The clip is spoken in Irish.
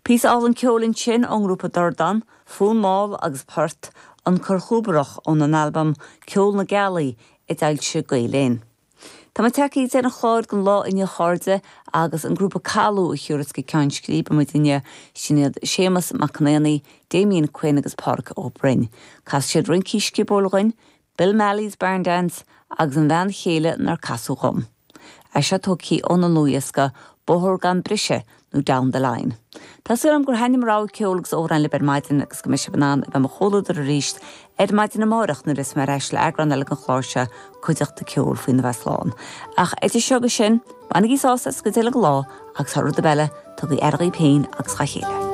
Píosa álainn ceoil ansin ón ngrúpa Dordán, Fonn Mall agus Port, An Corrchúbarach óna n-albam Ceol na Gealaí a d'fhoilsigh Gael Linn. Tá muid tagtha ag deireadh an chláir don lá inniu a chairde agus an grúpa Calú a thiúrfas go ceann scríbe muid inniu, sin iad Séamus Mac Con Éanaigh, Damien Quinn agus Pádraic Ó Broin. Casfaidh siad rincí sciobóil dhuinn, Bill Malley's Barn Dance agus an bhean chéile nár casadh dhom. É seo tógtha óna ndlúthdhiosca Bóthar Gan Briseadh nó Down the Line. Tá súil agam gur thaitnigh mo rogha ceoil agus amhráin libh ar maidin agus go mbeidh sibh in ann a bheith mo chomhluadar arís ar maidin amárach nuair a bheas mé ar ais le eagrán eile den chlár seo, Cuideachta Ceoil, faoina bheith slán. Ach idir seo agus sin, bainigí sásamh as an gcuid eile den lá agus thar rud ar bith eile, tugaigí aire dhaoibh féin agus dhá chéile.